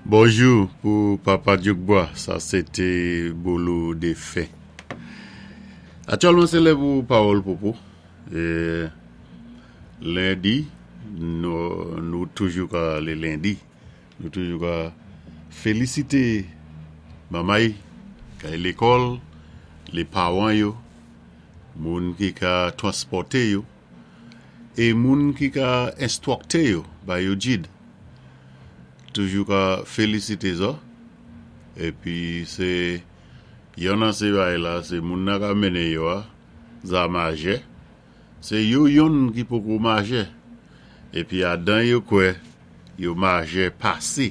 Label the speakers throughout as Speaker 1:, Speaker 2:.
Speaker 1: Bonjou pou Papa Dyoukbwa, sa sé té Bolo défen. Aktyèlman sé lè pou Pawòl Popo. Lendi, nou toujou ka lé lendi, nou toujou ka félisité manmay kay lékòl, lé pawan yo, moun ki ka transpòté yo, é moun ki ka enstwòkté yo, ba yo jid. Toujou ka felisite zò epi se yonn nan se bagay la se moun nan ka mennen yo a za majè se yo yonn ki poko majè epi adan yo kwè yo majè pase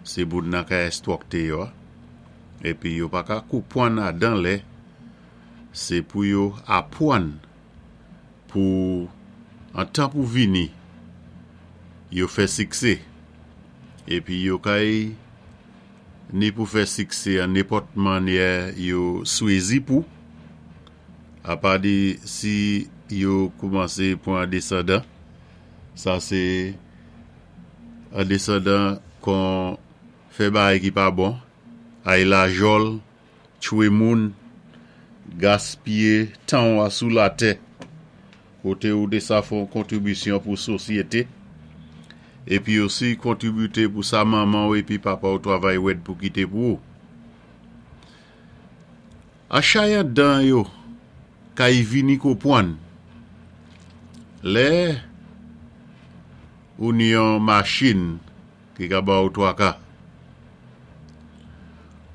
Speaker 1: se moun nan ka enstwòkte yo a epi yo pa ka konpwann adan lè se pou yo apwann pou antan pou vini yo fè siksé epi yo kay ni pou fè siksé an nenpòt mannyè yo swezi pou apa de si yo koumanse pwan desandan sa se an desandan kon fè bagay ki pa bon ay lajòl Tchwe moun, gaspiye tan w a sou latè, kote ou te sa fè yon kontribisyon pou sosyete, epi osi kontribite pou sa manman w epi papa w travay rèd pou kite pou ou. Achayan dan yo kay vini konpwann lè ou ni yon machin ki ka ba ou twaka.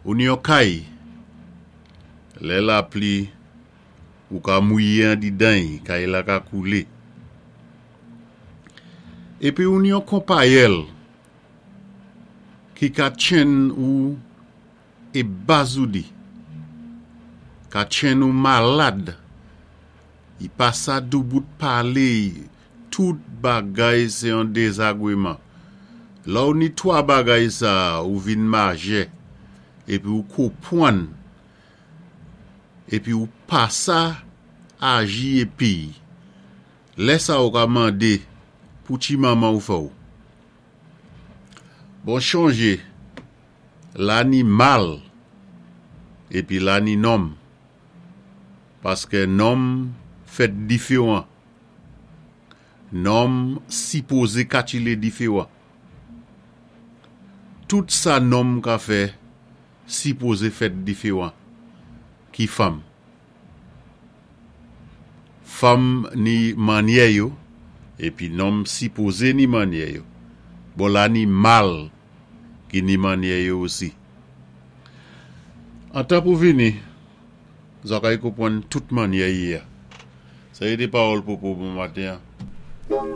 Speaker 1: Ou ni yon kay, lè lapli ou ka mouye andidan y, kay la ka koule. Epi ou ni yon konpayèl ki ka tchenn ou e bazoudi, ka tchenn ou malad, y pa sa doubout pale y, tout bagay se yon dezagreman. Lè w ni 3 bagay sa a ou vin majè epi ou konpwann epi ou pa sa aji epiy lè sa ou ka mande pou ti manman ou fè w bon chonje la ni mal epi la ni nonm paskè nonm fèt diferan. Nonm sipoze katile diferan. Tout sa nonm ka fè sipoze fèt diferan ki fanm. Fanm ni mannyè yo epi nonm sipoze ni mannyè yo. Bon la ni mal ki ni mannyè yo osi. Antan pou vini. Zakay konpwann tout mannyè ye a. Sa ye de pawòl popo bon maten an.